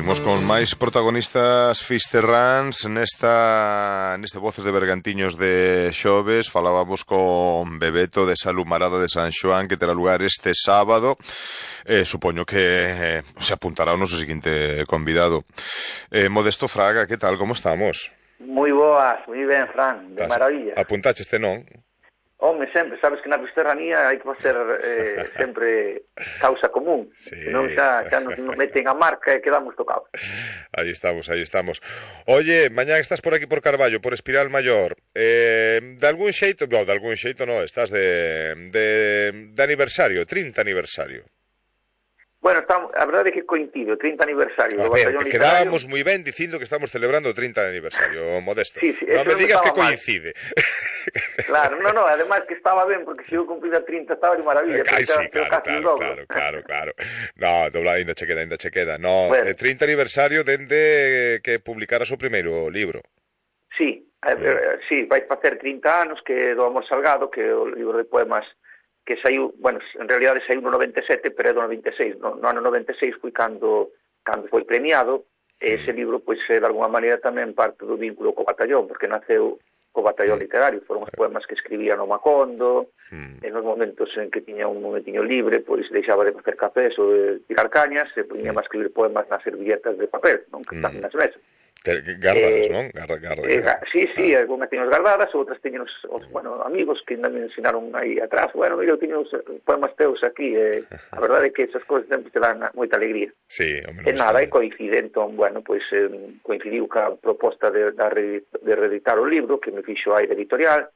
Imos con máis protagonistas fisterráns neste Voces de Bergantiños de xoves. Falábamos con Bebeto de Salumarada de San Xoán, que terá lugar este sábado. Supoño que se apuntará o noso seguinte convidado. Modesto Fraga, que tal, como estamos? Moi boas, moi ben, Fran, de maravilla. Apuntache este non? Home, sempre, sabes que na fisterranía hai que facer sempre causa común, sí. Senón xa nos meten a marca e quedamos tocados. Aí estamos. Oye, mañá estás por aquí por Carballo, por Espiral Maior. De algún xeito no, estás de aniversario, 30 aniversario. Bueno, a verdade é que coincide o 30 aniversario do Batallón Literario. Quedábamos moi ben dicindo que estamos celebrando o 30 aniversario, Modesto. Sí, non me digas que coincide. Claro, ademais que estaba ben, porque se eu cumplida 30 estaba de maravilla. Sí, claro. No, ainda che queda. No, bueno. 30 aniversario dende que publicaras o primeiro libro. Sí, vai facer 30 anos que do Amor Salgado, que é o libro de poemas que saiu, bueno, en realidade saiu no 97, pero é do 96, no ano 96 foi cando foi premiado, e ese libro, pois, de alguma maneira tamén parte do vínculo co batallón, porque naceu co batallón literario, foron os poemas que escribía no Macondo, en os momentos en que tiña un momentiño libre, pois deixaba de facer cafés ou de tirar cañas, e poñía a escribir poemas nas servilletas de papel, non, que están nas mesas. Gardadas, non? Gardadas. Sí, algunhas tiños gardadas, outras tiños amigos que ainda me ensinaron aí atrás. Bueno, mira, eu tiño os poemas teus aquí, a verdade é que esas cousas sempre te dan moita alegría. Sí, e nada, e coincide, entón, bueno, pois coincidiu ca proposta de reeditar o libro, que me fixo a Aire Editorial,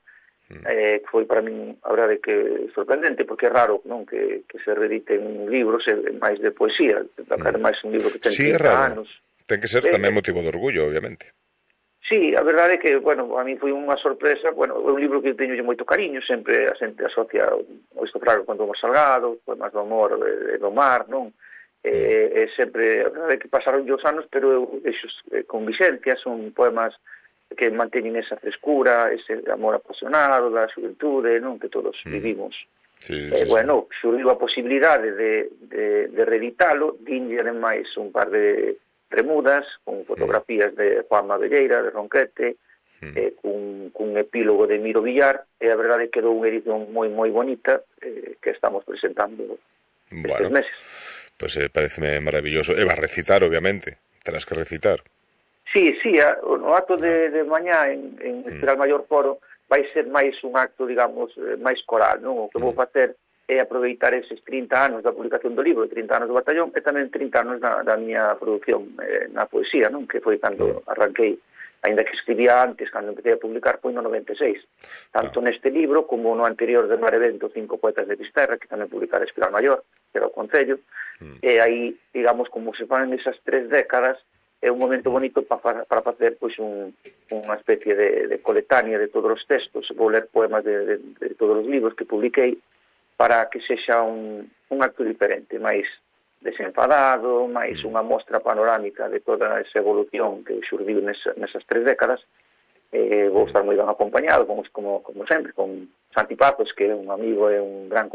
foi para min, a verdade que sorprendente, porque é raro, non, que se reediten libros máis de poesía, ademais un libro que ten 30 anos. Ten que ser tamén motivo de orgullo, obviamente. Sí, a verdade é que, bueno, a mí foi unha sorpresa, bueno, é un libro que teño moito cariño, sempre a xente asocia o Istofrago con o Amor Salgado, poemas do amor e do mar, non? E sempre, a verdade é que pasaron os anos, pero eu deixo con Vicencia, son poemas que manteñen esa frescura, ese amor apasionado da xuventude, non? Que todos vivimos. Sí. Bueno, xurdiu a posibilidade de reeditalo, dinlle ademais un par de remudas, con fotografías de Juanma Velleira, de Ronquete, cun epílogo de Miro Villar, e a verdade quedou unha edición moi bonita que estamos presentando estes meses. Pois pareceme maravilloso. E vas recitar, obviamente, terás que recitar. Sí, no acto de mañá en Espiral Maior Foro vai ser máis un acto, digamos, máis coral, non? O que vou facer é aproveitar eses 30 anos da publicación do libro, 30 anos do batallón, e tamén 30 anos da miña produción na poesía, non? Que foi cando arranquei, ainda que escribía antes, cando empecé a publicar, foi no 96. Tanto neste libro, como no anterior de Mar Evento, 5 poetas de Fisterra, que tamén publicara Espiral Maior, que era o Concello, e aí, digamos, como se fan esas 3 décadas, é un momento bonito para facer pois unha especie de coletánea de todos os textos. Vou ler poemas de todos os libros que publiquei, para que sexa un acto diferente, máis desenfadado, máis unha mostra panorámica de toda esa evolución que xurdiu nesas 3 décadas. Vou estar moi ben acompañado, como sempre, con Santi Pazos, que é un amigo e un gran